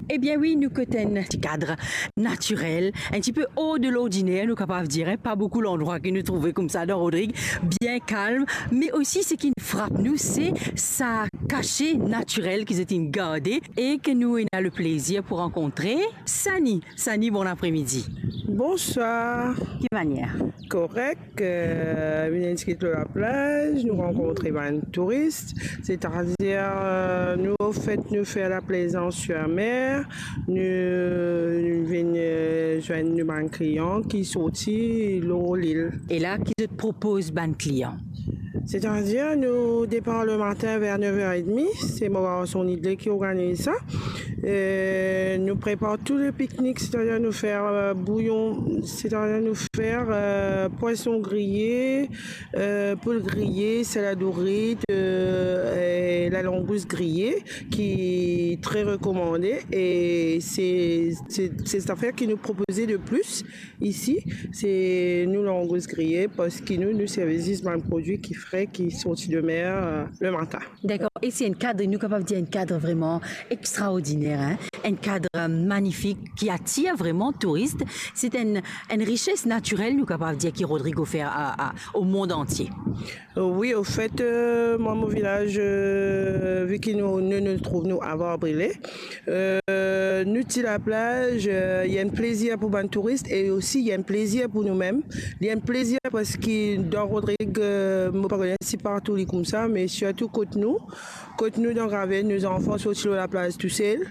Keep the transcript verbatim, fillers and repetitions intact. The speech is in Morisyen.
Ebien wi, nou kot enn ti kad natirel, enn tipe hors de l'ordinaire, nou kapav dir, hein. Pa boukou landrwa ki nou trouve koumsa dan Rodrig, bien kalm, me osi seki frap nou, se sa kase natirel ki zot inn garde e ki nou ena le plezir pou rankontre Sani. Sani, bon apremidi. Bonswar. Ki manier? Korek, eh, vinn enskri lor laplaz, nou rankontre bann touris, setadir, eh, nou, anfet, nou fer laplezans sir mer, nou, nou vinn, eh, zwenn nou bann klian ki sorti lor lil. E la, ki zot propoz bann klian? Setadir, nou depar lematin ver nef er edmi, se mo garson Nidle ki organiz sa. Eh, nou prepar tou le piknik, setadir nou fer, eh, bouyon, setadir nou fer, eh, pwason griye, eh, poul griye, salad ourit, eh, e lalangous griye, ki tre rekomande. E se, se, se zafer ki nou propoze le plis isi, se nou langous griye, parski nou, nou servi zis bann prodwi ki fre, ki sorti de mer, eh, lematin. Dakor. E se enn kad, nou kapav dir enn kad vreman extraordiner, hein? Enn kad, eh, manifik ki atir vreman touris. Se enn, enn rises natirel, nou kapav dir, ki Rodrig ofer a, a, au monde entier. Eh, wi, anfet, eh, mwa, mo vilaz, eh, vi ki nou, nou, nou trouv nou a Var-Brile, eh, nou ti laplaz, eh, li enn plezir pou bann touris e osi li enn plezir pou noumem. Li enn plezir parski dan Rodrig, eh, mo pa kone si partou li koumsa, me sirtou kot nou, kot nou dan Graved, nou zanfan sorti lor laplaz tousel.